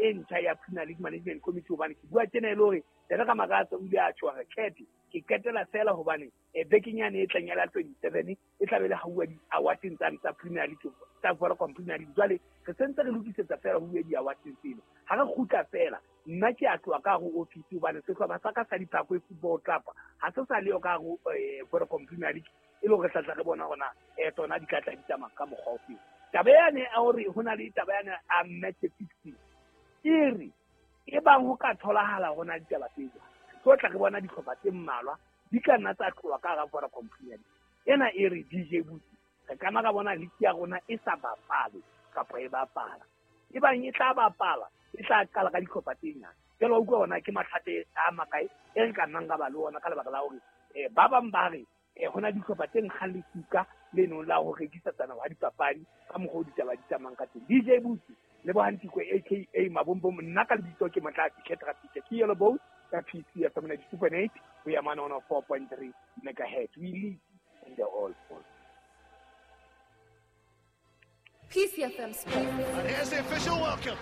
e ntjha ya Premier League Management Committee, hobane ke bua tjena e le hore Ntate Ramakatsa o ile a tjho hore Cat ke qetela fela hobane bekeng yane e tlang ya la 27 e tla be le hauwa di-awardeng tsane tsa Premier League, tsa Vodacom Premier League. Jwale re sentse re lokisetsa fela ho uwe di-awardeng tseno. Ha re kgutla fela, nna ke a tloha ka hare ho office hobane sehlopha sa ka sa Diphakwe Football Club ha se sa leyo ka hare ho Vodacom Premier League, e le hore re tla tla re bona hore na tsona di tla tla di tsamaya ka mokgwa ofeng. Taba yane ya hore ho na le taba yane a match fixing, e re e bang ho ka tholahala ho na ditaba tse jwalo, re tlo tla re bona dihlopha tse mmalwa di ka nna tsa tloha ka hara Vodacom Premier League. Ena e re DJ Butsi, re ka nna ra bona league ya rona e sa bapale kapa e bapala. E bang e tla bapala, e tla qala ka dihlopha tse nyane. Jwale wa utlwa hore ke mathata a makae e re ka nnang ra ba le ona ka lebaka la hore ba bang ba re ho na dihlopha tse nkgang lesuka le nong la ho rekisetsana wa dipapadi ka mokgwa o ditaba di tsamayang ka teng. DJ Butsi, Lebohang Tikwe aka Mabombom, nna ka lebitso ke Motlatsi Cat Rafika, ke Yellow Boat ka PC FM 92.8 ho ya mane 104.3 megahertz. We lead in the all fall. PCFM Sports. And here's the official welcome.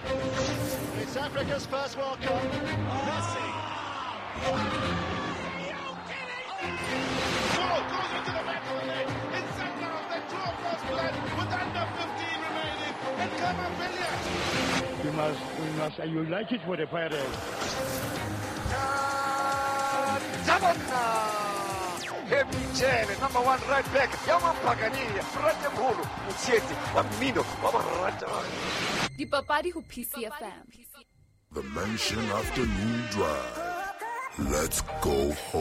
It's Africa's first World Cup. Messi. Ball goes into the back of the net. It's Sundowns that draw first blood with under 15 remaining. And Khama Billiat. We must, you like it for the Pirates. Hemchele, number 1 right back, Yamampagania, Ratemholo, Mutsieti, wa mmino, wa borata. Dipapadi ho PCFM. The Mansion Afternoon Drive. Let's go home.